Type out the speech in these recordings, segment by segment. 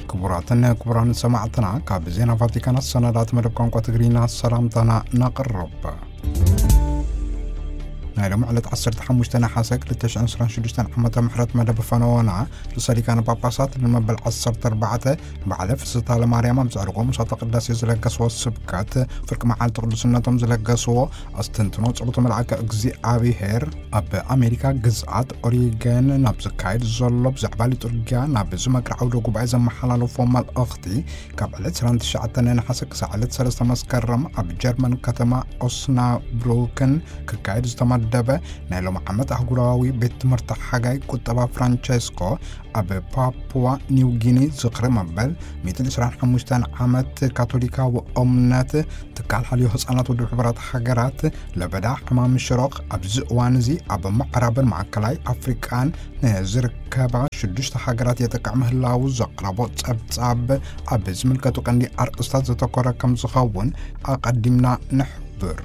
ክቡራትን ክቡራን ሰማዕትና፣ ካብ ዜና ቫቲካን ኣሰናዳት መደብ ቋንቋ ትግርኛ ሰላምታና ነቕርብ። ናይ ሎም ዕለት ዓሰርተ ሓሙሽተ ነሓሰ ክልተ ሽሕን ዕስራን ሽዱሽተን ዓመተ ምሕረት መደብ ፈነወና፣ ርእሰ ሊቃነ ጳጳሳት ንመበል ዓሰርተ ኣርባዕተ በዓለ ፍስሕታ ለማርያም ኣብ ዘዕርጎ ምሳተ ቅዳሴ ዝለገስዎ ስብከት፣ ፍርቂ መዓልቲ ቅዱስነቶም ዝለገስዎ ኣስተንትኖ ጸሎተ መልኣከ እግዚኣብሔር፣ ኣብ ኣሜሪካ ግዝኣት ኦሪገን ናብ ዝካየድ ዘሎ ብዛዕባ ሊጡርጊያ ናብ ዝመክር ዓውደ ጉባኤ ዘመሓላለፎ መልእኽቲ፣ ካብ ዕለት ዕስራን ትሽዓተን ነሓሰ ክሳዕ ዕለት ሰለስተ መስከረም ኣብ ጀርመን ከተማ ኦስናብሩክን ክካየድ ዝተመደበ ናይ ሎም ዓመት ኣህጉራዊ ቤት ትምህርቲ ሓጋይ ቁጠባ ፍራንቸስኮ፣ ኣብ ፓፑዋ ኒው ጊኒ ዝኽሪ መበል ሚእትን ዕስራን ሓሙሽተን ዓመት ካቶሊካዊ እምነት ትካል ሓልዮ ህጻናት ውድብ ሕቡራት ሃገራት፣ ለበዳ ሕማም ሽሮኽ ኣብዚ እዋን እዚ ኣብ ምዕራብን ማእከላይ ኣፍሪቃን ንዝርከባ ሽዱሽተ ሃገራት የጥቅዕ ምህላዉ ዘቕረቦ ጸብጻብ ኣብ ዝምልከቱ ቀንዲ ኣርእስታት ዘተኮረ ከም ዝኸውን ኣቐዲምና ንሕብር።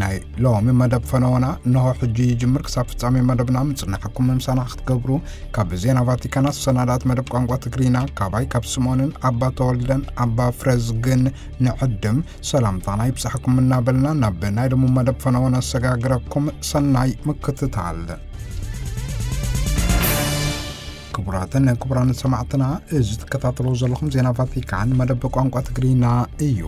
ናይ ሎሚ መደብ ፈነወና እንሆ ሕጂ ይጅምር። ክሳብ ፍጻሜ መደብና ምጽናሕኩም ምሳና ክትገብሩ ካብ ዜና ቫቲካን ኣሰናዳት መደብ ቋንቋ ትግርኛ ካባይ ካብ ስምኦንን ኣባ ተወልደን ኣባ ፍረዝግን ንዕድም ሰላምታና ይብጻሕኩም እናበልና ናብ ናይ ሎሚ መደብ ፈነወና ኣሰጋግረኩም። ሰናይ ምክትታል። ክቡራትን ክቡራን ሰማዕትና፣ እዚ ትከታተልዎ ዘለኹም ዜና ቫቲካን መደብ ቋንቋ ትግርኛ እዩ።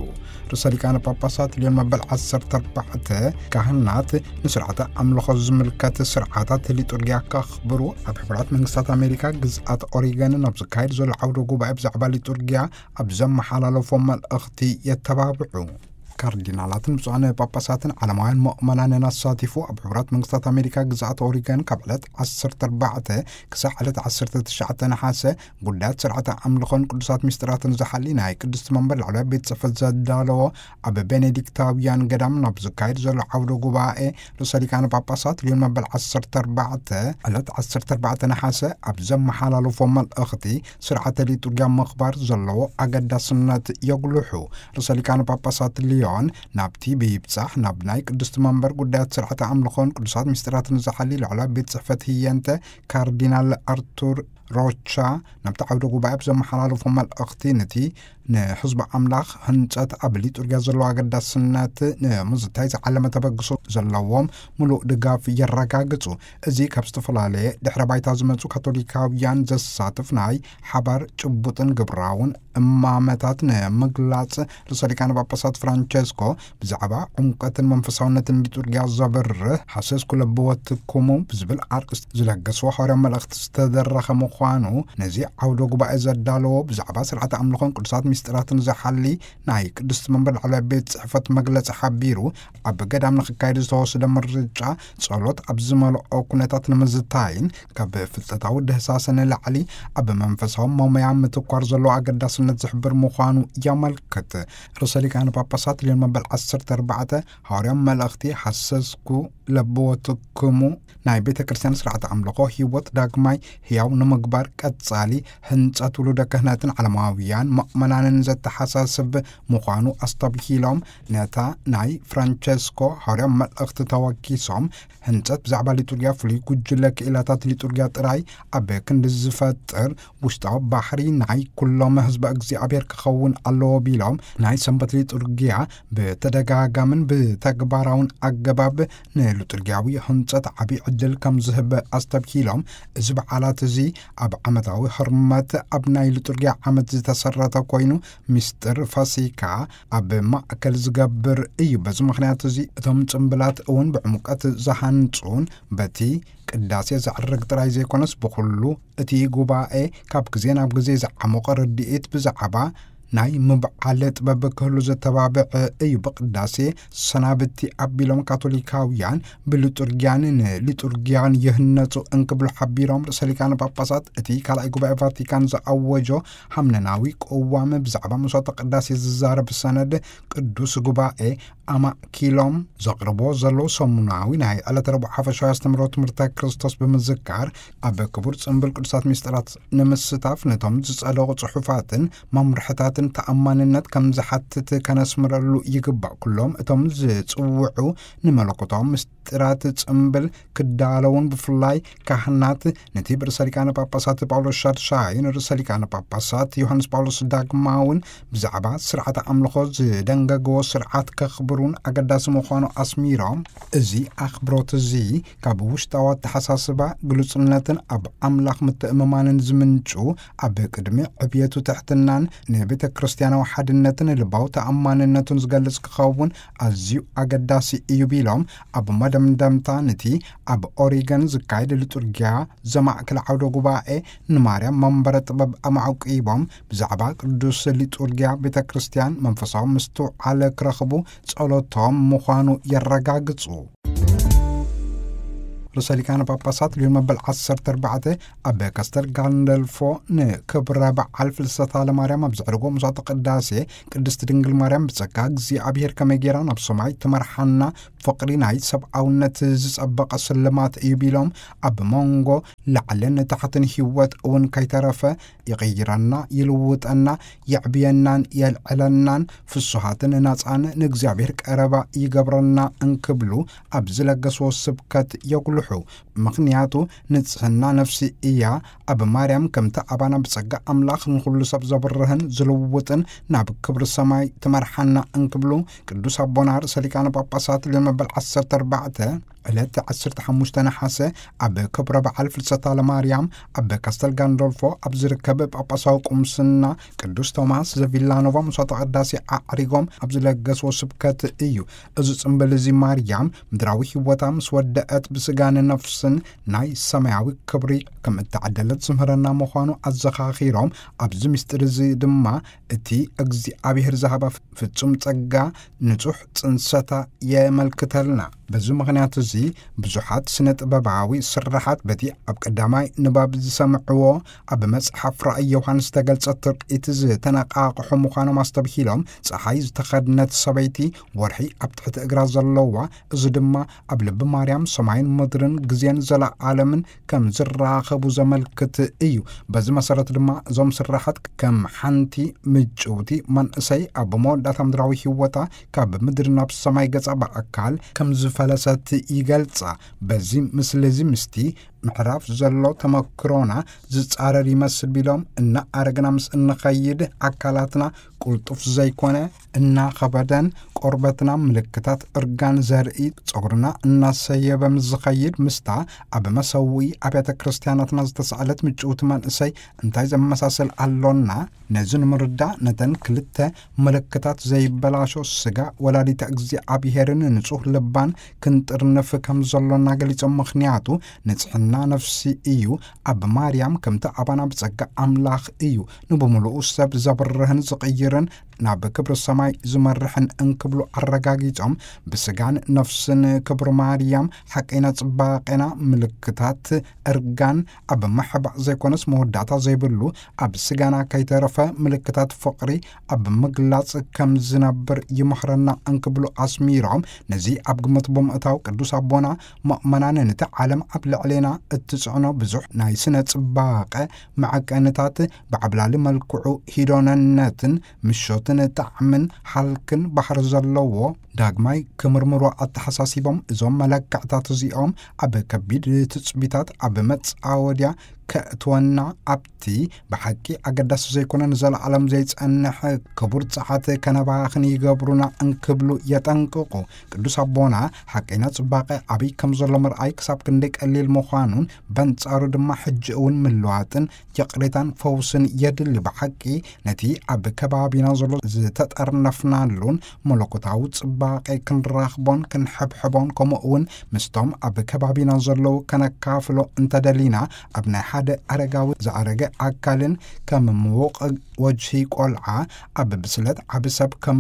ርእሰ ሊቃነ ጳጳሳት ልዮን መበል ዓሰርተ ኣርባዕተ ካህናት ንስርዓተ ኣምልኾ ዝምልከት ስርዓታት ሊጡርጊያ ከኽብሩ ኣብ ሕቡራት መንግስታት ኣሜሪካ ግዝኣት ኦሪገን ኣብ ዝካየድ ዘሎ ዓውደ ጉባኤ ብዛዕባ ሊጡርጊያ ኣብ ዘመሓላለፎ መልእኽቲ የተባብዑ። ካርዲናላትን ብፁዓን ጳጳሳትን ዓለማውያን ምእመናንን ኣሳቲፉ ኣብ ሕቡራት መንግስታት ኣሜሪካ ግዝኣት ኦሪገን ካብ ዕለት ዓሰርተ ኣርባዕተ ክሳዕ ዕለት ዓሰርተ ትሽዓተ ነሓሰ ጉዳያት ስርዓተ ኣምልኾን ቅዱሳት ምስጢራትን ዝሓሊ ናይ ቅድስቲ መንበር ላዕለዋይ ቤት ጽሕፈት ዘዳለዎ ኣብ ቤኔዲክታውያን ገዳም ናብ ዝካየድ ዘሎ ዓውደ ጉባኤ ርእሰ ሊቃነ ጳጳሳት ልዮን መበል ዓሰርተ ኣርባዕተ ዕለት ዓሰርተ ኣርባዕተ ነሓሰ ኣብ ዘመሓላለፎ መልእኽቲ ስርዓተ ሊጡርጊያ ምኽባር ዘለዎ ኣገዳስነት የጉልሑ። ርእሰ ሊቃነ ጳጳሳት ልዮን ናብቲ ብይብጻሕ ናብ ናይ ቅድስቲ መንበር ጉዳያት ስርዓተ ኣምልኾን ቅዱሳት ምስጢራትን ዝሓሊ ላዕለዋይ ቤት ጽሕፈት ህየንተ ካርዲናል ኣርቱር ሮቻ ናብቲ ዓውደ ጉባኤ ብዘመሓላለፎ መልእኽቲ፣ ነቲ ንሕዝቢ ኣምላኽ ህንጸት ኣብ ሊጡርጊያ ዘለዎ ኣገዳስነት ንምዝታይ ዝዓለመ ተበግሶ ዘለዎም ምሉእ ድጋፍ የረጋግጹ። እዚ ካብ ዝተፈላለየ ድሕረ ባይታ ዝመጹ ካቶሊካውያን ዘሳትፍ ናይ ሓባር ጭቡጥን ግብራውን እማመታት ንምግላጽ ርእሰ ሊቃነ ጳጳሳት ፍራንቸስኮ ብዛዕባ ዕምቀትን መንፈሳውነትን ሊጡርጊያ ዘብርህ ሃሰስኩ ለብወትኩሙ ብዝብል ኣርእስቲ ዝለገስዎ ሓዋርያዊ መልእኽቲ ዝተደረኸ ምዃኑ፣ ነዚ ዓውደ ጉባኤ ዘዳለዎ ብዛዕባ ስርዓተ ኣምልኾን ቅዱሳት ምስጢራትን ዝሓሊ ናይ ቅድስቲ መንበር ላዕለዋይ ቤት ጽሕፈት መግለጺ ሓቢሩ፣ ኣብ ገዳም ንኽካየድ ዝተወሰደ ምርጫ ጸሎት ኣብ ዝመልኦ ኩነታት ንምዝታይን ካብ ፍልጠታዊ ድህሳሰ ንላዕሊ ኣብ መንፈሳዊ መመያ ምትኳር ዘለዎ ኣገዳስነት ዝሕብር ምዃኑ የመልክት። ርእሰ ሊቃነ ጳጳሳት ልዮን መበል ዓሰርተ ኣርባዕተ ሓዋርያዊ መልእኽቲ ሃሰስኩ ለብወትኩሙ ናይ ቤተ ክርስቲያን ስርዓተ ኣምልኾ ህይወት ዳግማይ ህያው ንምግባር ቀጻሊ ህንጸት ውሉደ ክህነትን ዓለማውያን ምእመናንን ዘተሓሳስብ ምዃኑ ኣስተብሂሎም፣ ነታ ናይ ፍራንቸስኮ ሓዋርያዊ መልእኽቲ ተወኪሶም፣ ህንጸት ብዛዕባ ሊጡርጊያ ፍሉይ ጉጅለ ክኢላታት ሊጡርጊያ ጥራይ ኣብ ክንዲ ዝፈጥር ውሽጣዊ ባሕሪ ናይ ኩሎም ህዝቢ እግዚኣብሔር ክኸውን ኣለዎ ቢሎም፣ ናይ ሰንበት ሊጡርጊያ ብተደጋጋምን ብተግባራውን ኣገባብ ንሊጡርጊያዊ ህንጸት ዓቢ ዕድል ከም ዝህብ ኣስተብሂሎም፣ እዚ በዓላት እዚ ኣብ ዓመታዊ ህርመት ኣብ ናይ ሊጡርጊያ ዓመት ዝተሰረተ ኮይኑ፣ ምስጢር ፋሲካ ኣብ ማእከል ዝገብር እዩ። በዚ ምኽንያት እዚ እቶም ጽምብላት እውን ብዕምቀት ዝሃንጹን በቲ ቅዳሴ ዘዕርግ ጥራይ ዘይኮነስ፣ ብኹሉ እቲ ጉባኤ ካብ ግዜ ናብ ግዜ ዝዓሞቐ ርድኢት ብዛዕባ ናይ ምብዓል ጥበብ ክህሉ ዘተባብዕ እዩ። ብቅዳሴ ሰናብቲ ኣቢሎም ካቶሊካውያን ብሊጡርጊያን ንሊጡርጊያን ይህነጹ እንክብሉ ሓቢሮም፣ ርእሰ ሊቃነ ጳጳሳት እቲ ካልኣይ ጉባኤ ቫቲካን ዝኣወጆ ሃምነናዊ ቅዋም ብዛዕባ መስዋዕተ ቅዳሴ ዝዛረብ ሰነድ ቅዱስ ጉባኤ ኣማእኪሎም ዘቕርቦ ዘለዉ ሰሙናዊ ናይ ዕለተ ረቡዕ ሓፈሻዊ ኣስተምህሮ ትምህርተ ክርስቶስ ብምዝካር፣ ኣብ ክቡር ጽምብል ቅዱሳት ምስጢራት ንምስታፍ ነቶም ዝጸደቑ ጽሑፋትን መምርሕታትን ተኣማንነት ከም ዝሓትት ከነስምረሉ ይግባእ። ኩሎም እቶም ዝጽውዑ ንመለኮታዊ ምስጢራት ጽምብል ክዳለውን፣ ብፍላይ ካህናት፣ ነቲ ብርእሰ ሊቃነ ጳጳሳት ጳውሎስ ሻድሻይን ርእሰ ሊቃነ ጳጳሳት ዮሃንስ ጳውሎስ ዳግማውን ብዛዕባ ስርዓተ ኣምልኾ ዝደንገግዎ ስርዓት ከኽብሩን ኣገዳሲ ምዃኑ ኣስሚሮም፣ እዚ ኣኽብሮት እዚ ካብ ውሽጣዊ ኣተሓሳስባ፣ ግሉጽነትን ኣብ ኣምላኽ ምትእምማንን ዝምንጩ፣ ኣብ ቅድሚ ዕብየቱ ትሕትናን ንቤተ ክርስቲያናዊ ሓድነትን ልባዊ ተኣማንነቱን ዝገልጽ ክኸውን ኣዝዩ ኣገዳሲ እዩ ቢሎም፣ ኣብ መደምደምታ ነቲ ኣብ ኦሪገን ዝካየድ ሊጡርጊያ ዘማእከለ ዓውደ ጉባኤ ንማርያም መንበረ ጥበብ ኣማዕቂቦም፣ ብዛዕባ ቅዱስ ሊጡርጊያ ቤተ ክርስቲያን መንፈሳዊ ምስትውዓል ክረኽቡ ጸሎቶም ምዃኑ የረጋግጹ። ርእሰ ሊቃነ ጳጳሳት ሊዮን መበል ዓሰርተ ኣርባዕተ ኣብ ካስተል ጋንደልፎ ንክብረ በዓል ፍልሰታ ለማርያም ኣብ ዘዕርጎ ምሳተ ቅዳሴ፣ ቅድስቲ ድንግል ማርያም ብጸጋ እግዚኣብሔር ከመይ ጌራ ናብ ሰማይ ትመርሓና፣ ፍቕሪ ናይ ሰብኣውነት ዝጸበቐ ስልማት እዩ ቢሎም፣ ኣብ መንጎ ላዕልን ታሕትን ህይወት እውን ከይተረፈ ይቕይረና፣ ይልውጠና፣ የዕብየናን የልዕለናን፣ ፍሱሃትን ናጻን ንእግዚኣብሔር ቀረባ ይገብረና እንክብሉ ኣብ ዝለገስዎ ስብከት የጉልሑ። ምኽንያቱ ንጽህና ነፍሲ እያ። ኣብ ማርያም ከምቲ ኣባና ብጸጋ ኣምላኽ ንኹሉ ሰብ ዘብርህን ዝልውጥን ናብ ክብሪ ሰማይ ትመርሓና እንክብሉ ቅዱስ ኣቦና ርእሰ ሊቃነ ጳጳሳት ሊዮን መበል ዓሰርተ ኣርባዕተ ዕለት ዓሰርተ ሓሙሽተ ነሓሰ ኣብ ክብረ በዓል ፍልሰታ ለማርያም ኣብ ካስተል ጋንዶልፎ ኣብ ዝርከብ ጳጳሳዊ ቁምስና ቅዱስ ቶማስ ዘቪላኖቫ ምሳተ ቅዳሴ ኣዕሪጎም ኣብ ዝለገስዎ ስብከት እዩ። እዚ ጽምብል እዚ ማርያም ምድራዊ ህይወታ ምስ ወደአት ብስጋን ነፍስን ናይ ሰማያዊ ክብሪ ከም እተዓደለት ዝምህረና ምዃኑ ኣዘኻኺሮም፣ ኣብዚ ምስጢር እዚ ድማ እቲ እግዚኣብሔር ዝሃባ ፍጹም ጸጋ ንጹሕ ጽንሰታ የመልክተልና። በዚ ምኽንያት እዚ ብዙሓት ስነ ጥበባዊ ስራሓት በቲ ኣብ ቀዳማይ ንባብ ዝሰምዕዎ ኣብ መጽሓፍ ራእይ ዮሃንስ ዝተገልጸ ትርኢት ዝተነቃቕሑ ምዃኖም ኣስተብሂሎም፣ ጸሓይ ዝተኸድነት ሰበይቲ፣ ወርሒ ኣብ ትሕቲ እግራ ዘለዋ፣ እዚ ድማ ኣብ ልቢ ማርያም ሰማይን ምድርን ግዜን ዘለዓለምን ከም ዝራኸቡ ዘመልክት እዩ። በዚ መሰረት ድማ እዞም ስራሓት ከም ሓንቲ ምጭውቲ መንእሰይ ኣብ መወዳእታ ምድራዊ ህይወታ ካብ ምድሪ ናብ ሰማይ ገጻ ብኣካል ከም ዝፈለሰት ይገልጻ። በዚ ምስሊ እዚ ምስቲ ምዕራፍ ዘሎ ተመክሮና ዝጻረር ይመስል ቢሎም፣ እናኣረግና ምስ እንኸይድ ኣካላትና ቁልጡፍ ዘይኮነ እናኸበደን ቆርበትና ምልክታት እርጋን ዘርኢ ጸጉርና እናሰየበ ምስ ዝኸይድ ምስታ ኣብ መሰውኢ ኣብያተ ክርስቲያናትና ዝተሳእለት ምጭውቲ መንእሰይ እንታይ ዘመሳሰል ኣሎና? ነዚ ንምርዳእ ነተን ክልተ ምልክታት ዘይበላሾ ስጋ ወላዲተ እግዚኣብሔርን ንጹህ ልባን ክንጥርንፍ ከም ዘሎና ገሊጾም። ምኽንያቱ ንጽሕና ነፍሲ እዩ። ኣብ ማርያም ከምቲ ኣባና ብጸጋ ኣምላኽ እዩ። ንብምሉኡ ሰብ ዘብርህን ዝቕይርን ናብ ክብሪ ሰማይ ዝመርሕን እንክብሉ ኣረጋጊጾም፣ ብስጋን ነፍስን ክብሪ ማርያም ሓቀይና ጽባቄና ምልክታት እርጋን ኣብ ምሕባእ ዘይኮነስ መወዳእታ ዘይብሉ ኣብ ስጋና ከይተረፈ ምልክታት ፍቕሪ ኣብ ምግላጽ ከም ዝነብር ይመኽረና እንክብሉ ኣስሚሮም፣ ነዚ ኣብ ግምት ብምእታው ቅዱስ ኣቦና ምእመናን ነቲ ዓለም ኣብ ልዕሌና እትጽዕኖ ብዙሕ ናይ ስነ ጽባቐ መዐቀንታት ብዓብላሊ መልክዑ ሂዶነነትን ምሾትን ጣዕምን ሃልክን ባሕሪ ዘለዎ ዳግማይ ክምርምሮ ኣተሓሳሲቦም፣ እዞም መለክዕታት እዚኦም ኣብ ከቢድ ትጽቢታት ኣብ መጻወድያ ከእትወና ኣብቲ ብሓቂ ኣገዳሲ ዘይኮነ ንዘለዓለም ዘይጸንሕ ክቡር ጸዓት ከነባኽን ይገብሩና እንክብሉ የጠንቅቑ። ቅዱስ ኣቦና ሓቀይና ጽባቐ ኣበይ ከም ዘሎ ምርኣይ ክሳብ ክንደይ ቀሊል ምዃኑን በንጻሩ ድማ ሕጂ እውን ምልዋጥን ይቕሬታን ፈውስን የድሊ። ብሓቂ ነቲ ኣብ ከባቢና ዘሎ ዝተጠርነፍናሉን መለኮታዊ ጽባቐ ክንራኽቦን ክንሕብሕቦን ከምኡ እውን ምስቶም ኣብ ከባቢና ዘለዉ ከነካፍሎ እንተደሊና፣ ኣብ ናይ ሓደ ኣረጋዊ ዝኣረገ ኣካልን ከም ምዉቕ ወጅሂ ቆልዓ ኣብ ብስለት ዓቢ ሰብ ከም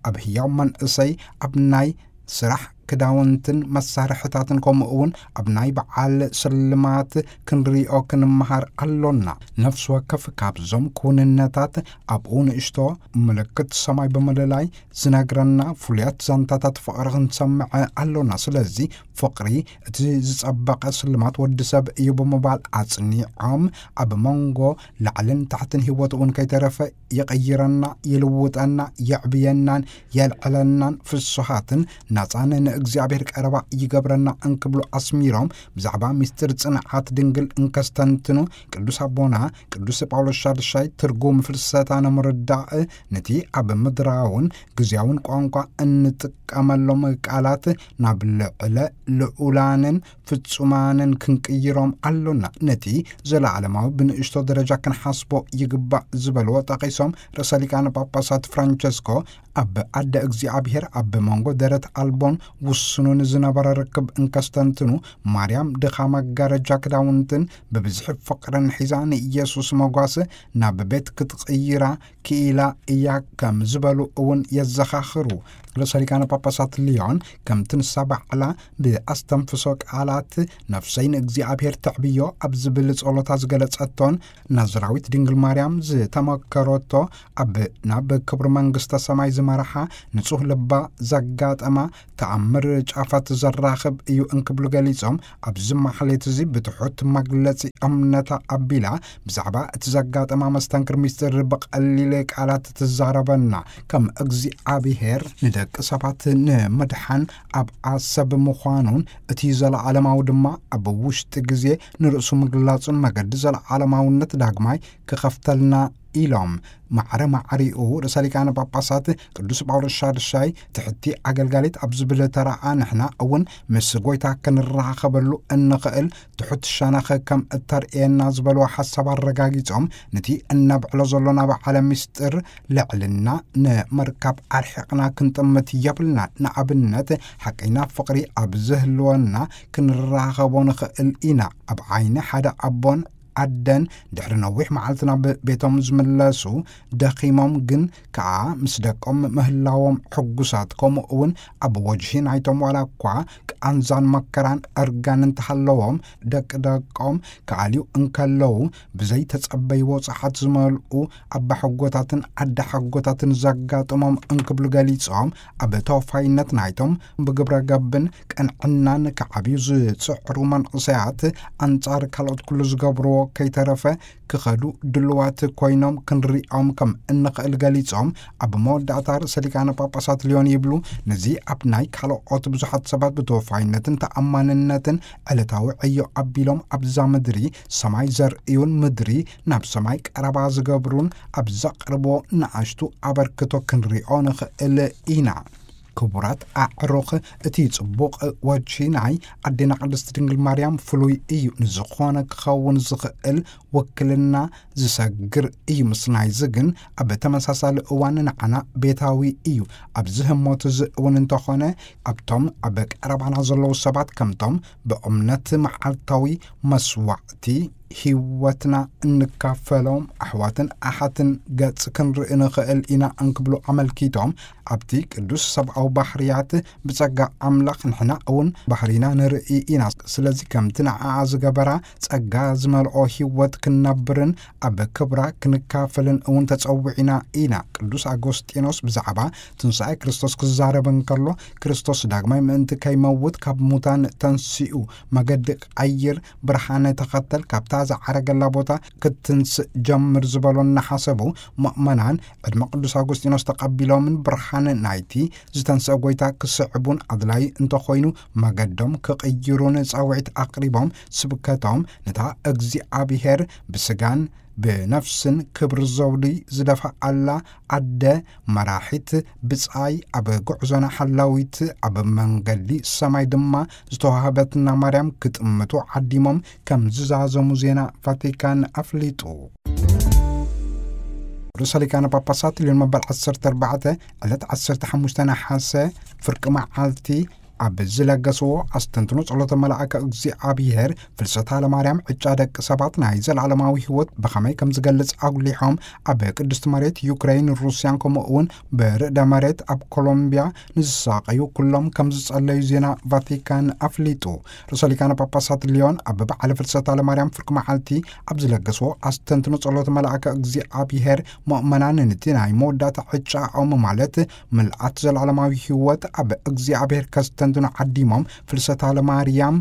ኣብ ህያው መንእሰይ ኣብ ናይ ስራሕ ክዳውንትን መሳርሕታትን፣ ከምኡ እውን ኣብ ናይ በዓል ስልማት ክንሪኦ ክንመሃር ኣሎና። ነፍሲ ወከፍ ካብዞም ክውንነታት ኣብኡ ንእሽቶ ምልክት ሰማይ ብምልላይ ዝነግረና ፍሉያት ዛንታታት ፍቕሪ ክንሰምዕ ኣሎና። ስለዚ ፍቕሪ እቲ ዝጸበቐ ስልማት ወዲ ሰብ እዩ ብምባል ኣጽኒዖም፣ ኣብ መንጎ ላዕልን ታሕትን ህይወት እውን ከይተረፈ ይቕይረና፣ ይልውጠና፣ የዕብየናን የልዕለናን ፍሱሃትን ናጻን ንእግዚኣብሔር ቀረባ ይገብረና እንክብሉ ኣስሚሮም፣ ብዛዕባ ምስጢር ጽንዓት ድንግል እንከስተንትኑ፣ ቅዱስ ኣቦና ቅዱስ ጳውሎስ ሻድሻይ ትርጉም ፍልሰታ ንምርዳእ ነቲ ኣብ ምድራውን ግዜያውን ቋንቋ እንጥቀመሎም ቃላት ናብ ልዕለ ልዑላንን ፍጹማንን ክንቅይሮም ኣሎና። ነቲ ዘለዓለማዊ ብንእሽቶ ደረጃ ክንሓስቦ ይግባእ ዝበልዎ ጠቒሶም፣ ርእሰ ሊቃነ ጳጳሳት ፍራንቸስኮ ኣብ ኣደ እግዚኣብሔር ኣብ መንጎ ደረት ኣልቦን ውሱኑን ዝነበረ ርክብ እንከስተንትኑ፣ ማርያም ድኻ መጋረጃ ክዳውንትን ብብዝሒ ፍቕርን ሒዛ ንኢየሱስ መጓስ ናብ ቤት ክትቕይራ ክኢላ እያ ከም ዝበሉ እውን የዘኻኽሩ። ርእሰ ሊቃነ ጳጳሳት ሊዮን ከምቲ ንሳ ባዕላ ብኣስተንፍሶ ቃላት ነፍሰይ ንእግዚኣብሔር ተዕብዮ ኣብ ዝብል ጸሎታ ዝገለጸቶን ናዝራዊት ድንግል ማርያም ዝተመከረቶ ኣብ ናብ ክብሪ መንግስተ ሰማይ ዝመርሓ ንጹህ ልባ ዘጋጠማ ተኣምር ጫፋት ዘራኽብ እዩ እንክብሉ ገሊጾም፣ ኣብዚ ማሕሌት እዚ ብትሑት መግለጺ እምነታ ኣቢላ ብዛዕባ እቲ ዘጋጠማ መስተንክር ምስጢር ብቐሊል ቃላት ትዛረበና። ከም እግዚኣብሔር ንደቂ ሰባት ንምድሓን ኣብ ዓሰብ ምዃኑን እቲ ዘለዓለማዊ ድማ ኣብ ውሽጢ ግዜ ንርእሱ ምግላጹን መገዲ ዘለዓለማውነት ዳግማይ ክኸፍተልና ኢሎም። ማዕረ ማዕሪኡ ርእሰ ሊቃነ ጳጳሳት ቅዱስ ጳውሎስ ሻድሻይ ትሕቲ ኣገልጋሊት ኣብ ዝብል ተራኣ ንሕና እውን ምስ ጐይታ ክንራኸበሉ እንኽእል ትሑት ሸነኽ ከም እተርእየና ዝበልዎ ሓሳብ ኣረጋጊጾም፣ ነቲ እነብዕሎ ዘሎና በዓለ ምስጢር ልዕልና ንምርካብ ኣርሒቕና ክንጥምት የብልና። ንኣብነት ሓቀይና ፍቕሪ ኣብ ዝህልወና ክንራኸቦ ንኽእል ኢና። ኣብ ዓይኒ ሓደ ኣቦን ኣደን ድሕሪ ነዊሕ መዓልቲ ናብ ቤቶም ዝምለሱ ደኺሞም ግን ከኣ ምስ ደቆም ምህላዎም ሕጉሳት፣ ከምኡ እውን ኣብ ወጅሂ ናይቶም ዋላ እኳ ቃንዛን መከራን ዕርጋን እንተሃለዎም ደቂ ደቆም ክኣልዩ እንከለዉ ብዘይተጸበይዎ ጸሓት ዝመልኡ ኣባሓጎታትን ኣደሓጎታትን ዘጋጥሞም እንክብሉ ገሊጾም፣ ኣብ ተወፋይነት ናይቶም ብግብረ ገብን ቅንዕናን ክዓብዩ ዝጽዕሩ መንእሰያት ኣንጻር ካልኦት ኩሉ ዝገብርዎ ከይተረፈ ክኸዱ ድልዋት ኮይኖም ክንሪኦም ከም እንኽእል ገሊጾም፣ ኣብ መወዳእታ ርእሰ ሊቃነ ጳጳሳት ሊዮን ይብሉ፣ ነዚ ኣብ ናይ ካልኦት ብዙሓት ሰባት ብተወፋይነትን ተኣማንነትን ዕለታዊ ዕዮ ኣቢሎም ኣብዛ ምድሪ ሰማይ ዘርእዩን ምድሪ ናብ ሰማይ ቀረባ ዝገብሩን ኣብ ዘቕርቦ ንኣሽቱ ኣበርክቶ ክንሪኦ ንኽእል ኢና። ክቡራት ኣዕሩኽ፣ እቲ ጽቡቕ ወጂ ናይ ኣዴና ቅድስት ድንግል ማርያም ፍሉይ እዩ። ንዝኾነ ክኸውን ዝኽእል ውክልና ዝሰግር እዩ። ምስ ናይዚ ግን ኣብ ተመሳሳሊ እዋን ንዓና ቤታዊ እዩ። ኣብዚ ህሞት እዚ እውን እንተኾነ ኣብቶም ኣብ ቀረባና ዘለዉ ሰባት ከምቶም ብእምነት መዓልታዊ መስዋዕቲ ህይወትና እንካፈሎም ኣሕዋትን ኣሓትን ገጽ ክንርኢ ንኽእል ኢና እንክብሉ ኣመልኪቶም፣ ኣብቲ ቅዱስ ሰብኣዊ ባህርያት ብጸጋ ኣምላኽ ንሕና እውን ባህሪና ንርኢ ኢና። ስለዚ ከምቲ ንዓኣ ዝገበራ ጸጋ ዝመልኦ ህይወት ክንነብርን ኣብ ክብራ ክንካፈልን እውን ተጸዊዕና ኢና። ቅዱስ ኣጎስጢኖስ ብዛዕባ ትንሳኤ ክርስቶስ ክዛረብ እንከሎ፣ ክርስቶስ ዳግማይ ምእንቲ ከይመውት ካብ ሙታን ተንሲኡ፣ መገዲ ቀይር፣ ብርሃነ ተኸተል፣ ካብታ ዝዓረገላ ቦታ ክትንስእ ጀምር ዝበሎ እናሓሰቡ፣ ምእመናን ዕድመ ቅዱስ ኣጎስጢኖስ ተቐቢሎምን ብርሃን ናይቲ ዝተንስአ ጐይታ ክስዕቡን ኣድላዪ እንተኾይኑ መገዶም ክቕይሩን ጻውዒት ኣቕሪቦም፣ ስብከቶም ነታ እግዚኣብሔር ብስጋን ብነፍስን ክብሪ ዘውዲ ዝደፍኣላ ኣደ መራሒት ብጻይ ኣብ ጉዕዞና ሓላዊት ኣብ መንገዲ ሰማይ ድማ ዝተዋህበትና ማርያም ክጥምቱ ዓዲሞም ከም ዝዛዘሙ ዜና ቫቲካን ኣፍሊጡ። ርእሰ ሊቃነ ጳጳሳት ልዮን መበል ዓሰርተ ኣርባዕተ ዕለት ዓሰርተ ሓሙሽተ ነሓሰ ፍርቂ መዓልቲ ኣብ ዝለገስዎ ኣስተንትኖ ጸሎተ መልኣከ እግዚኣብሔር፣ ፍልሰታ ለማርያም ዕጫ ደቂ ሰባት ናይ ዘለዓለማዊ ህይወት ብኸመይ ከም ዝገልጽ ኣጉሊሖም፣ ኣብ ቅድስቲ መሬት ዩክሬን፣ ሩስያን፣ ከምኡ እውን ብርዕደ መሬት ኣብ ኮሎምቢያ ንዝሳቐዩ ኩሎም ከም ዝጸለዩ ዜና ቫቲካን ኣፍሊጡ። ርእሰ ሊቃነ ጳጳሳት ሊዮን ኣብ በዓለ ፍልሰታ ለማርያም ፍርቂ መዓልቲ ኣብ ዝለገስዎ ኣስተንትኖ ጸሎተ መልኣከ እግዚኣብሔር፣ ምእመናን ነቲ ናይ መወዳእታ ዕጫኦም፣ ማለት ምልኣት ዘለዓለማዊ ህይወት፣ ኣብ እግዚኣብሔር ከስተንትኑ ዓዲሞም፣ ፍልሰታ ለማርያም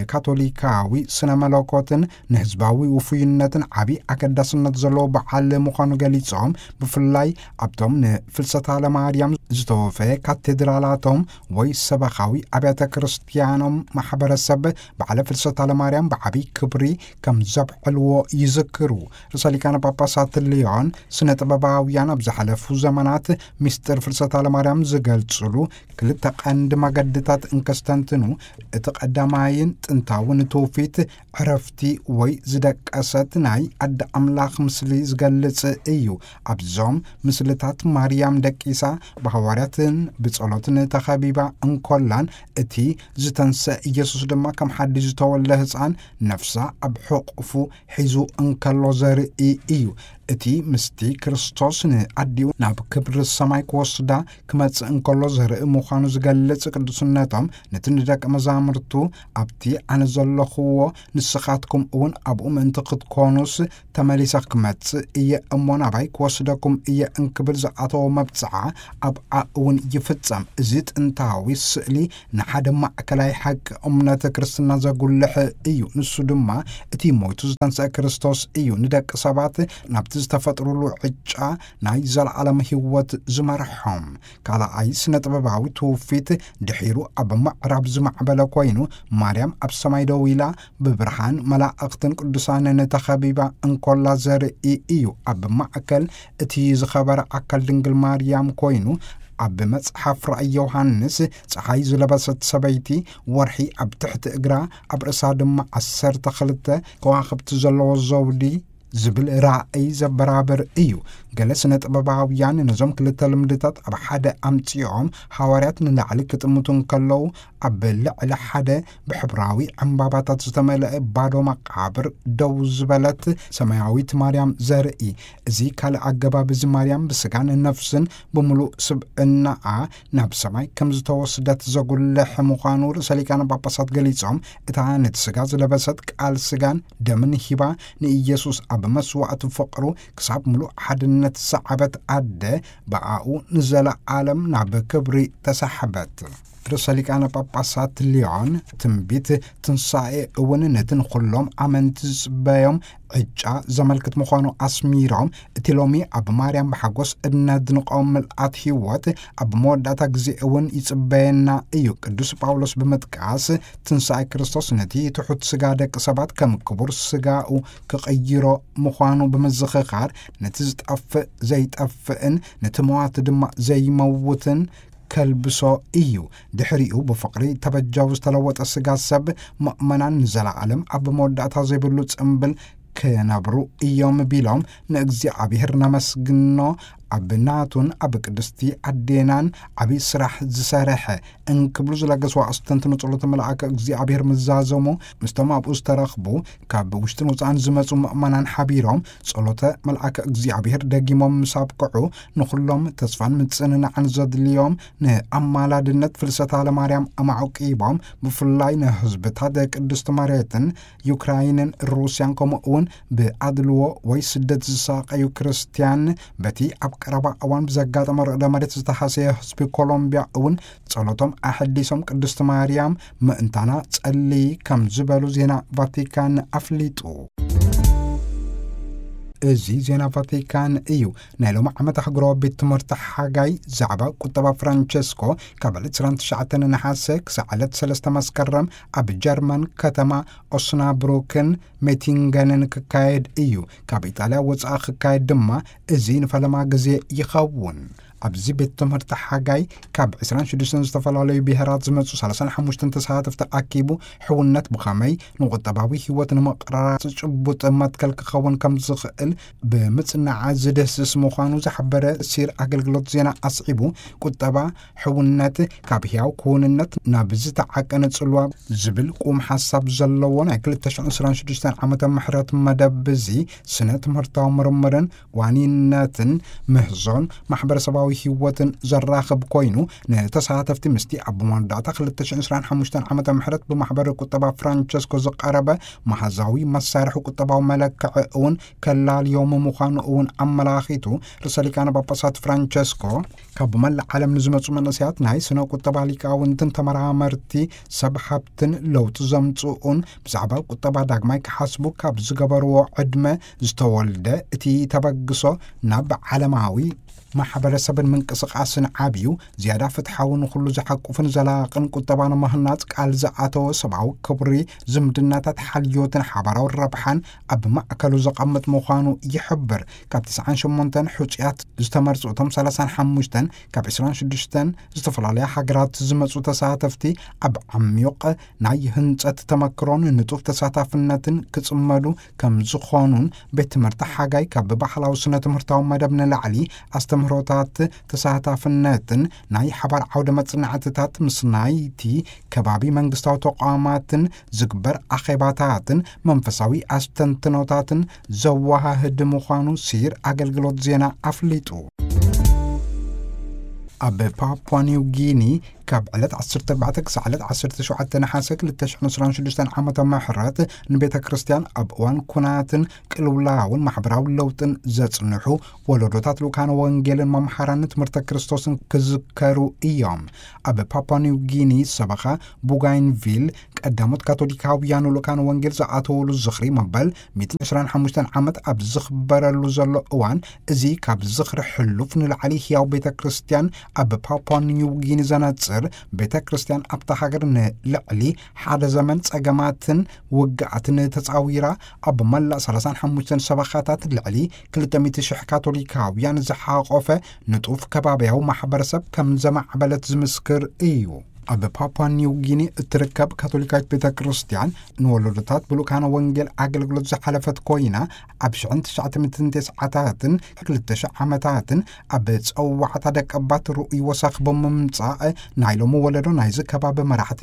ንካቶሊካዊ ስነ መለኮትን ንህዝባዊ ውፉይነትን ዓቢ ኣገዳስነት ዘለዎ በዓል ምዃኑ ገሊጾም፣ ብፍላይ ኣብቶም ንፍልሰታ ለማርያም ዝተወፈየ ካቴድራላቶም ወይ ሰበኻዊ ኣብያተ ክርስቲያኖም ማሕበረሰብ በዓለ ፍልሰታ ለማርያም ብዓቢ ክብሪ ከም ዘብዕልዎ ይዝክሩ። ርእሰ ሊቃነ ጳጳሳት ሊዮን፣ ስነ ጥበባውያን ኣብ ዝሓለፉ ዘመናት ምስጢር ፍልሰታ ለማርያም ዝገልጽሉ ክልተ ቀንዲ መገድታት እንከስተንትኑ፣ እቲ ቀዳማይን ጥንታውን ትውፊት ዕረፍቲ ወይ ዝደቀሰት ናይ ኣደ ኣምላኽ ምስሊ ዝገልጽ እዩ። ኣብዞም ምስልታት ማርያም ደቂሳ፣ ብሃዋርያትን ብጸሎትን ተኸቢባ እንኮላን፣ እቲ ዝተንሰ ኢየሱስ ድማ ከም ሓድሽ ዝተወልደ ህፃን፣ ነፍሳ ኣብ ሕቑፉ ሒዙ እንከሎ ዘርኢ እዩ። እቲ ምስቲ ክርስቶስ ንኣዲኡ ናብ ክብሪ ሰማይ ክወስዳ ክመጽእ እንከሎ ዘርኢ ምዃኑ ዝገልጽ ቅዱስነቶም፣ ነቲ ንደቀ መዛሙርቱ፣ "ኣብቲ ኣነ ዘለኹዎ ንስኻትኩም እውን ኣብኡ ምእንቲ ክትኮኑስ፣ ተመሊሰ ክመጽእ እየ እሞ ናባይ ክወስደኩም እየ" እንክብል ዝኣተዎ መብጽዓ ኣብኣ እውን ይፍጸም። እዚ ጥንታዊ ስእሊ ንሓደ ማእከላይ ሓቂ እምነት ክርስትና ዘጉልሕ እዩ። ንሱ ድማ እቲ ሞይቱ ዝተንስአ ክርስቶስ እዩ፣ ንደቂ ሰባት ናብቲ ዝተፈጥሩሉ ዕጫ ናይ ዘለዓለም ህይወት ዝመርሖም። ካልኣይ ስነ ጥበባዊ ትውፊት ድሒሩ ኣብ ምዕራብ ዝማዕበለ ኮይኑ፣ ማርያም ኣብ ሰማይ ደው ኢላ ብብርሃን መላእኽትን ቅዱሳንን ተኸቢባ እንኮላ ዘርኢ እዩ። ኣብ ማእከል እቲ ዝኸበረ ኣካል ድንግል ማርያም ኮይኑ፣ ኣብ መጽሓፍ ራእይ ዮሃንስ፣ ጸሓይ ዝለበሰት ሰበይቲ፣ ወርሒ ኣብ ትሕቲ እግራ፣ ኣብ ርእሳ ድማ ዓሰርተ ክልተ ከዋኽብቲ ዘለዎ ዘውዲ ዝብል ራእይ ዘበራብር እዩ። ገለ ስነ ጥበባውያን ነዞም ክልተ ልምድታት ኣብ ሓደ ኣምጺኦም፣ ሃዋርያት ንላዕሊ ክጥምቱ እንከለዉ፣ ኣብ ልዕሊ ሓደ ብሕብራዊ ዕምባባታት ዝተመልአ ባዶ መቓብር ደው ዝበለት ሰማያዊት ማርያም ዘርኢ። እዚ ካልእ ኣገባብ እዚ፣ ማርያም ብስጋን ነፍስን ብምሉእ ስብዕናኣ ናብ ሰማይ ከም ዝተወስደት ዘጉልሕ ምዃኑ ርእሰ ሊቃነ ጳጳሳት ገሊጾም፣ እታ ነቲ ስጋ ዝለበሰት ቃል ስጋን ደምን ሂባ ንኢየሱስ ኣብ መስዋዕቲ ፍቕሩ ክሳብ ምሉእ ሓድነት ዝሰዓበት ኣደ፣ ብኣኡ ንዘለዓለም ናብ ክብሪ ተሳሕበት። ርእሰ ሊቃነ ጳጳሳት ሊዮን፣ ትንቢት ትንሳኤ እውን ነቲ ንኹሎም ኣመንቲ ዝጽበዮም ዕጫ ዘመልክት ምዃኑ ኣስሚሮም፣ እቲ ሎሚ ኣብ ማርያም ብሓጎስ እነድንቖ ምልኣት ህይወት ኣብ መወዳእታ ግዜ እውን ይጽበየና እዩ። ቅዱስ ጳውሎስ ብምጥቃስ፣ ትንሳኤ ክርስቶስ ነቲ ትሑት ስጋ ደቂ ሰባት ከም ክቡር ስጋኡ ክቕይሮ ምዃኑ ብምዝኽኻር፣ ነቲ ዝጠፍእ ዘይጠፍእን ነቲ መዋቲ ድማ ዘይመውትን ከልብሶ እዩ። ድሕሪኡ ብፍቕሪ ተበጃዊ ዝተለወጠ ስጋ ሰብ፣ ምእመናን ንዘለዓለም ኣብ መወዳእታ ዘይብሉ ጽምብል ክነብሩ እዮም ቢሎም ንእግዚኣብሔር ነመስግኖ። ኣብ ናቱን ኣብ ቅድስቲ ኣዴናን ዓብዪ ስራሕ ዝሰርሐ እንክብሉ ዝለገስዋ ኣስተንትኖ ጸሎተ መልኣከ እግዚኣብሔር ምዛዘሙ፣ ምስቶም ኣብኡ ዝተረኽቡ ካብ ውሽጥን ወጻእን ዝመጹ ምእመናን ሓቢሮም ጸሎተ መልኣከ እግዚኣብሔር ደጊሞም ምስ ኣብቅዑ፣ ንኹሎም ተስፋን ምጽንናዕን ዘድልዮም ንኣማላድነት ፍልሰታ ለማርያም ኣማዕቂቦም፣ ብፍላይ ንህዝብታት ቅድስቲ መሬትን ዩክራይንን ሩስያን፣ ከምኡ እውን ብኣድልዎ ወይ ስደት ዝሳቐዩ ክርስትያን፣ በቲ ኣብ ቀረባ እዋን ብዘጋጠመ ርዕደ መሬት ዝተሃሰየ ህዝቢ ኮሎምቢያ እውን ጸሎቶም ኣሐዲሶም ቅድስቲ ማርያም ምእንታና ጸልዪ ከም ዝበሉ ዜና ቫቲካን ኣፍሊጡ። እዚ ዜና ቫቲካን እዩ። ናይ ሎሚ ዓመት ኣህጉራዊ ቤት ትምህርቲ ሓጋይ ዛዕባ ቁጠባ ፍራንቸስኮ ካብ ዕለት ዕስራን ትሽዓተን ነሓሰ ክሳዕ ዕለት ሰለስተ መስከረም ኣብ ጀርመን ከተማ ኦስናብሩክን ሜቲንገንን ክካየድ እዩ። ካብ ኢጣልያ ወጻኢ ክካየድ ድማ እዚ ንፈለማ ግዜ ይኸውን። ኣብዚ ቤት ትምህርቲ ሓጋይ ካብ ዕስራን ሽዱሽተን ዝተፈላለዩ ብሄራት ዝመጹ ሰላሳን ሓሙሽተን ተሳተፍቲ ኣኪቡ፣ ሕውነት ብኸመይ ንቁጠባዊ ህይወት ንምቕራጽ ጭቡጥ መትከል ክኸውን ከም ዝኽእል ብምጽናዕ ዝድህስስ ምዃኑ ዝሓበረ ሲር ኣገልግሎት ዜና ኣስዒቡ፣ ቁጠባ ሕውነት ካብ ህያው ክውንነት ናብ ዝተዓቀነ ጽልዋ ዝብል ቁም ሓሳብ ዘለዎ ናይ ክልተ ሽሕን ዕስራን ሽዱሽተን ዓመተ ምሕረት መደብ እዚ ስነ ትምህርታዊ ምርምርን ዋኒነትን ምህዞን ማሕበረሰባዊ ህይወትን ዘራኽብ ኮይኑ፣ ንተሳተፍቲ ምስቲ ኣብ መወዳእታ ክልተ ሽሕን ዕስራን ሓሙሽተን ዓመተ ምሕረት ብማሕበር ቁጠባ ፍራንቸስኮ ዝቐረበ መሃዛዊ መሳርሒ ቁጠባዊ መለክዒ እውን ከላልዮም ምዃኑ እውን ኣመላኺቱ። ርእሰ ሊቃነ ጳጳሳት ፍራንቸስኮ ካብ መላእ ዓለም ንዝመጹ መንእሰያት ናይ ስነ ቁጠባ ሊቃውንትን ተመራመርቲ ሰብ ሃብትን ለውጢ ዘምጽኡን ብዛዕባ ቁጠባ ዳግማይ ክሓስቡ ካብ ዝገበርዎ ዕድመ ዝተወልደ እቲ ተበግሶ ናብ ዓለማዊ ማሕበረሰብን ምንቅስቃስን ዓብዩ ዝያዳ ፍትሓዊ ንኹሉ ዝሓቁፍን ዘላቕን ቁጠባ ንምህናጽ ቃል ዝኣተወ ሰብኣዊ ክብሪ ዝምድናታት ሓልዮትን ሓባራዊ ረብሓን ኣብ ማእከሉ ዘቐምጥ ምዃኑ ይሕብር። ካብ ትስዓን ሸሞንተን ሕጹያት ዝተመርጹ እቶም ሰላሳን ሓሙሽተን ካብ ዕስራን ሽዱሽተን ዝተፈላለያ ሃገራት ዝመጹ ተሳተፍቲ ኣብ ዓሚቕ ናይ ህንጸት ተመክሮን ንጡፍ ተሳታፍነትን ክጽመዱ ከም ዝኾኑን ቤት ትምህርቲ ሓጋይ ካብ ባህላዊ ስነ ትምህርታዊ መደብ ንላዕሊ ኣስተምህሮታት ተሳታፍነትን ናይ ሓባር ዓውደ መጽናዕትታት ምስ ናይቲ ከባቢ መንግስታዊ ተቋማትን ዝግበር ኣኼባታትን መንፈሳዊ ኣስተንትኖታትን ዘወሃህድ ምዃኑ ሲር ኣገልግሎት ዜና ኣፍሊጡ። ኣብ ፓፑዋ ኒው ጊኒ ካብ ዕለት ዓሰርተ ኣርባዕተ ክሳዕ ዕለት ዓሰርተ ሸውዓተ ነሓሰ ክልተ ሽሕን ዕስራን ሽዱሽተን ዓመተ ምሕረት ንቤተ ክርስቲያን ኣብ እዋን ኩናትን ቅልውላውን ማሕበራዊ ለውጥን ዘጽንሑ ወለዶታት ልኡካነ ወንጌልን መምሃራን ትምህርተ ክርስቶስን ክዝከሩ እዮም። ኣብ ፓፑዋ ኒው ጊኒ ሰበኻ ቡጋይንቪል ቀዳሞት ካቶሊካውያን ልኡካነ ወንጌል ዝኣተውሉ ዝኽሪ መበል ሚእትን ዕስራን ሓሙሽተን ዓመት ኣብ ዝኽበረሉ ዘሎ እዋን፣ እዚ ካብ ዝኽሪ ሕሉፍ ንላዕሊ ህያው ቤተ ክርስቲያን ኣብ ፓፑዋ ኒው ጊኒ ዘነጽር፣ ቤተ ክርስቲያን ኣብታ ሃገር ንልዕሊ ሓደ ዘመን ጸገማትን ውግኣትን ተጻዊራ፣ ኣብ መላእ ሰላሳን ሓሙሽተን ሰበኻታት ልዕሊ ክልተ ሚእቲ ሽሕ ካቶሊካውያን ዝሓቖፈ ንጡፍ ከባብያዊ ማሕበረሰብ ከም ዘማዕበለት ዝምስክር እዩ። ኣብ ፓፑዋ ኒው ጊኒ እትርከብ ካቶሊካዊት ቤተ ክርስቲያን ንወለዶታት ብልኡካነ ወንጌል ኣገልግሎት ዝሓለፈት ኮይና፣ ኣብ ሽሕን ትሽዓተ ሚእትን ተስዓታትን ክልተ ሽሕ ዓመታትን ኣብ ጸዋዕታ ደቀባት ርኡይ ወሳኽ ብምምጻእ፣ ናይ ሎሚ ወለዶ ናይዚ ከባቢ መራሕቲ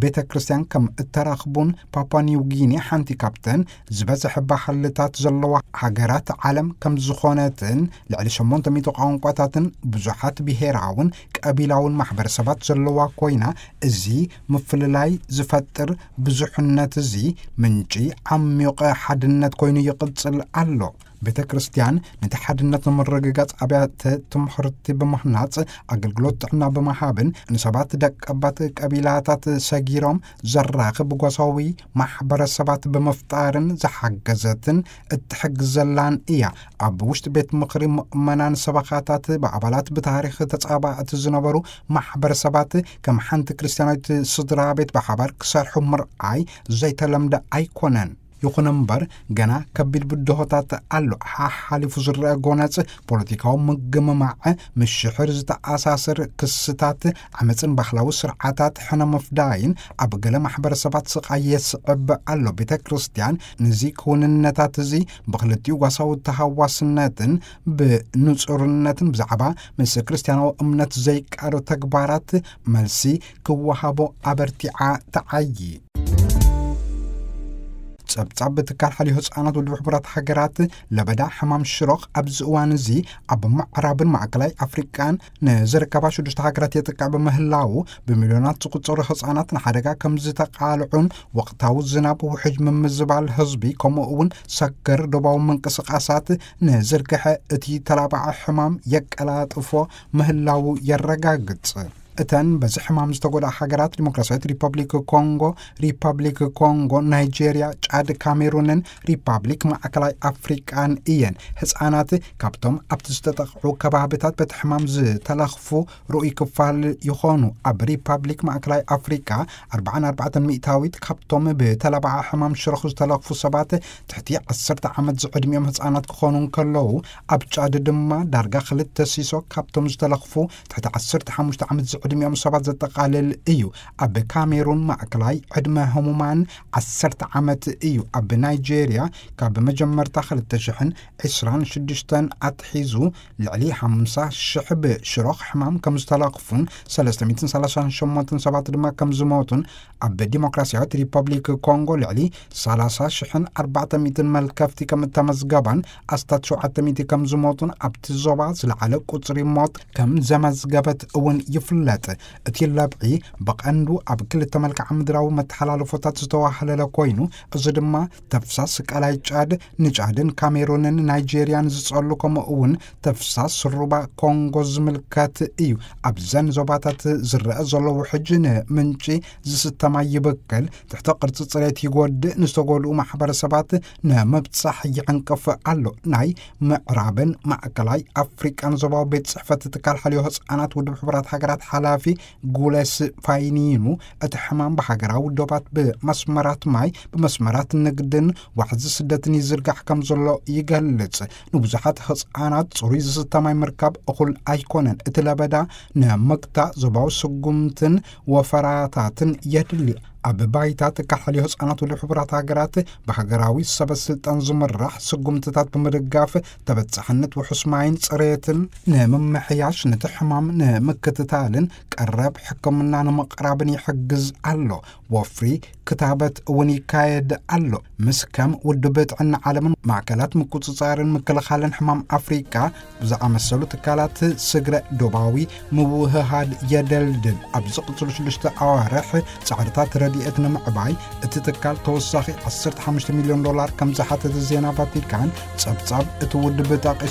ቤተ ክርስቲያን ከም እተራኽቡን፣ ፓፑዋ ኒው ጊኒ ሓንቲ ካብተን ዝበዝሐ ባህልታት ዘለዋ ሃገራት ዓለም ከም ዝኾነትን፣ ልዕሊ ሸሞንተ ሚእቲ ቋንቋታትን ብዙሓት ብሄራውን ቀቢላውን ማሕበረሰባት ዘለዋ ኮይና፣ እዚ ምፍልላይ ዝፈጥር ብዙሕነት እዚ ምንጪ ዓሚቕ ሓድነት ኮይኑ ይቕጽል ኣሎ። ቤተ ክርስቲያን ነቲ ሓድነት ንምርግጋጽ ኣብያተ ትምህርቲ ብምህናጽ፣ ኣገልግሎት ጥዕና ብምሃብን ንሰባት ደቀባት ቀቢላታት ሰጊሮም ዘራኽብ ጓሳዊ ማሕበረሰባት ብምፍጣርን ዝሓገዘትን እትሕግዘላን እያ። ኣብ ውሽጢ ቤት ምኽሪ ምእመናን ሰበኻታት ብኣባላት ብታሪኽ ተጻባእቲ ዝነበሩ ማሕበረሰባት ከም ሓንቲ ክርስቲያናዊት ስድራ ቤት ብሓባር ክሰርሑ ምርኣይ ዘይተለምደ ኣይኮነን። ይኹን እምበር፣ ገና ከቢድ ብድሆታት ኣሎ። ሓሓሊፉ ዝረአ ጎነጽ ፖለቲካዊ ምግምማዕ፣ ምስ ሽሕር ዝተኣሳሰር ክስታት ዓመጽን ባህላዊ ስርዓታት ሕነ ምፍዳይን ኣብ ገለ ማሕበረሰባት ስቓይ የስዕብ ኣሎ። ቤተ ክርስቲያን ነዚ ክውንነታት እዚ ብኽልቲኡ ጓሳዊ ተሃዋስነትን ብንጹርነትን ብዛዕባ ምስ ክርስቲያናዊ እምነት ዘይቃዶ ተግባራት መልሲ ክወሃቦ ኣበርቲዓ ተዓዪ። ጸብጻብ ትካል ሓልዮ ህጻናት ውድብ ሕቡራት ሃገራት፣ ለበዳ ሕማም ሽሮኽ ኣብዚ እዋን እዚ ኣብ ምዕራብን ማእከላይ ኣፍሪቃን ንዝርከባ ሽዱሽተ ሃገራት የጥቅዕ ብምህላዉ፣ ብሚልዮናት ዝቑጸሩ ህጻናት ንሓደጋ ከም ዝተቓልዑን፣ ወቕታዊ ዝናብ፣ ውሕጅ ምምዝባል ህዝቢ፣ ከምኡ እውን ሰገር ዶባዊ ምንቅስቓሳት ንዝርግሐ እቲ ተላባዒ ሕማም የቀላጥፎ ምህላዉ የረጋግጽ። እተን በዚ ሕማም ዝተጎድኣ ሃገራት ዲሞክራሲያዊት ሪፐብሊክ ኮንጎ፣ ሪፐብሊክ ኮንጎ፣ ናይጄርያ፣ ጫድ፣ ካሜሩንን ሪፐብሊክ ማእከላይ ኣፍሪቃን እየን። ህፃናት ካብቶም ኣብቲ ዝተጠቕዑ ከባብታት በቲ ሕማም ዝተለኽፉ ርኡይ ክፋል ይኾኑ። ኣብ ሪፐብሊክ ማእከላይ ኣፍሪቃ ኣርባዓን ኣርባዕተን ሚእታዊት ካብቶም ብተላባዓ ሕማም ሽረኹ ዝተለኽፉ ሰባት ትሕቲ ዓሰርተ ዓመት ዝዕድሚኦም ህፃናት ክኾኑ እንከለዉ፣ ኣብ ጫድ ድማ ዳርጋ ክልተ ሲሶ ካብቶም ዝተለኽፉ ትሕቲ ዓሰርተ ሓሙሽተ ዓመት ዝዕድሚኦም ሰባት ዘጠቓልል እዩ። ኣብ ካሜሩን ማእከላይ ዕድመ ህሙማን ዓሰርተ ዓመት እዩ። ኣብ ናይጄርያ ካብ መጀመርታ ክልተ ሽሕን ዕስራን ሽዱሽተን ኣትሒዙ ልዕሊ ሓምሳ ሽሕ ብሽሮኽ ሕማም ከም ዝተለኽፉን ሰለስተ ሚእትን ሰላሳን ሸሞንተን ሰባት ድማ ከም ዝሞቱን፣ ኣብ ዲሞክራሲያዊት ሪፐብሊክ ኮንጎ ልዕሊ ሰላሳ ሽሕን ኣርባዕተ ሚእትን መልከፍቲ ከም እተመዝገባን ኣስታት ሸውዓተ ሚእቲ ከም ዝሞቱን ኣብቲ ዞባ ዝለዓለ ቁጽሪ ሞት ከም ዘመዝገበት እውን ይፍለጥ። እቲ ለብዒ ብቐንዱ ኣብ ክልተ መልክዓ ምድራዊ መተሓላለፎታት ዝተዋህለለ ኮይኑ፣ እዚ ድማ ተፍሳስ ቀላይ ጫድ ንጫድን ካሜሩንን ናይጄርያን ዝጸሉ፣ ከምኡ እውን ተፍሳስ ሩባ ኮንጎ ዝምልከት እዩ። ኣብዘን ዞባታት ዝረአ ዘሎ ውሕጅ ንምንጪ ዝስተ ማይ ይብክል፣ ትሕተ ቅርጺ ጽሬት ይጎድእ፣ ንዝተጎድኡ ማሕበረሰባት ንምብጻሕ ይዕንቅፍ ኣሎ። ናይ ምዕራብን ማእከላይ ኣፍሪቃን ዞባዊ ቤት ጽሕፈት ትካል ሓልዮ ህጻናት ውድብ ሕቡራት ሃገራት ሓላፊ ጉለስ ፋይኒኑ፣ እቲ ሕማም ብሃገራዊ ዶባት፣ ብመስመራት ማይ፣ ብመስመራት ንግድን ዋሕዚ ስደትን ይዝርጋሕ ከም ዘሎ ይገልጽ። ንብዙሓት ህጻናት ጽሩይ ዝስተ ማይ ምርካብ እኹል ኣይኮነን። እቲ ለበዳ ንምግታእ ዞባዊ ስጉምትን ወፈራታትን የድሊ። ኣብ ባይታ ትካል ሓልዮ ህጻናት ውድብ ሕቡራት ሃገራት ብሃገራዊ ሰበ ስልጣን ዝምራሕ ስጉምትታት ብምድጋፍ፣ ተበጻሕነት ውሑስ ማይን ጽሬትን ንምምሕያሽ፣ ነቲ ሕማም ንምክትታልን ቀረብ ሕክምና ንምቕራብን ይሕግዝ ኣሎ። ወፍሪ ክታበት እውን ይካየድ ኣሎ። ምስ ከም ውድብ ጥዕና ዓለምን ማእከላት ምቁጽጻርን ምክልኻልን ሕማም ኣፍሪቃ ብዝኣመሰሉ ትካላት ስግረ ዶባዊ ምውህሃድ የደልድል። ኣብ ዝቕጽሉ ሽዱሽተ ኣዋርሕ ጻዕርታት ረድኤት ንምዕባይ እቲ ትካል ተወሳኺ ዓሰርተ ሓሙሽተ ሚልዮን ዶላር ከም ዝሓተተ ዜና ቫቲካን ጸብጻብ እቲ ውድብ ጠቒሱ።